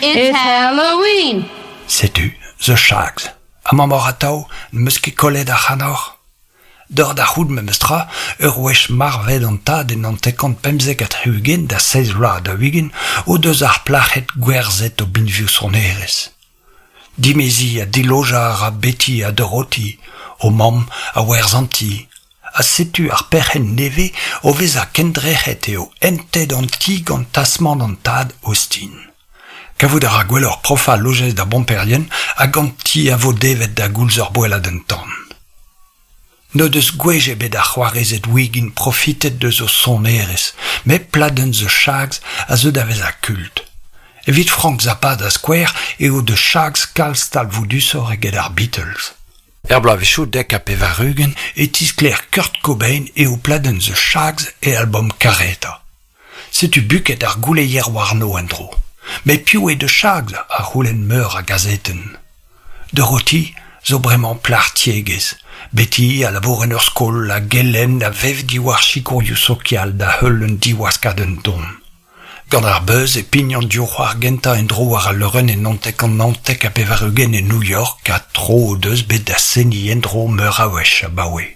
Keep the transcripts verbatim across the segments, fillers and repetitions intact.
It's Halloween! Setu, The Shags. Amañ 'maoc'h atav, n'em eus ket kollet ac'hanoc'h. Deoc'h da c'hoût memes tra, ur wech marvet an tad en hanter-kant pemzek ha tri-ugent da seizh vloaz daou-ugent o deus ar plac'hed gwerzhet o binvioù sonerezh. Dimeziñ ha dilojañ a ra Betty ha Dorothy, o mamm a werzh an ti. Ha setu ar perc'henn nevez o vezañ kendrec'het eo entet an ti gant tasmant an tad Austin. Kavout a ra gwelloc'h profañ lojeiz d'ar bomperien hag an ti a vo devet da goulz ur boelladenn-tan. N'o deus gwech ebet ar c'hoarezed Wiggin profitet deus o sonerezh, met pladenn The Shags a zeu da vezañ kult. Evit Frank Zappa da skouer eo The Shags kalz talvoudusoc'h eget ar Beatles. Er bloavezhioù dek ha pevar-ugent e tisklêr Kurt Cobain eo pladenn The Shags e albom karetañ. Setu buket ar gouleier warno en-dro. Met piv eo The Shags a c'houlenn meur a gazetenn. Dorothy zo bremañ plac'h tiegezh. Betty a labour en ur skol a gelenn a vev diwar sikourioù sokial da heul un diwaskadenn don. Gant ar beuz e pign an div c'hoar gentañ en-dro war al leurenn en naontek kant naontek ha pevar-ugent e New York ha tro o deus bet da seniñ en-dro meur a wech abaoe.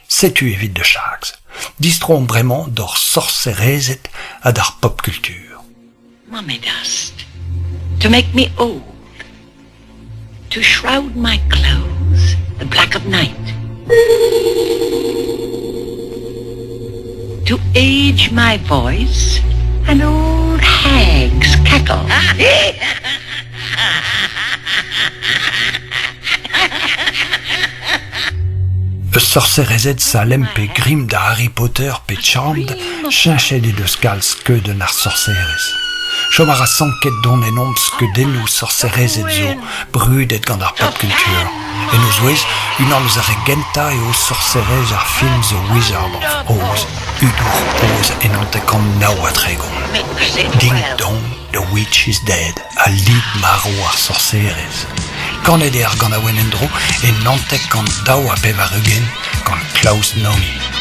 Setu evit The Shags. Distroomp bremañ d'hor sorserezed ha d'ar pop culture. Mummy dust, to make me old, to shroud my clothes, the black of night, to age my voice, an old hag's cackle. Eus sorserezed Salem pe Grimm da Harry Potter pe Charmed, cheñchet he deus kalz skeudenn ar sorserez. Chom a ra sanket don ennomp skeudennoù sorserezed zo, brudet gant ar pop culture. En o zouez, unan eus ar re gentañ eo sorserez ar film The Wizard of Oz, hudour Oz en hanter-kant nav ha tregont. Ding dong, the witch is dead, a lid marv ar sorserez. Kanet eo ar ganaouenn en-dro en hanter-kant daou ha pevar-ugent gant Klaus Nomi.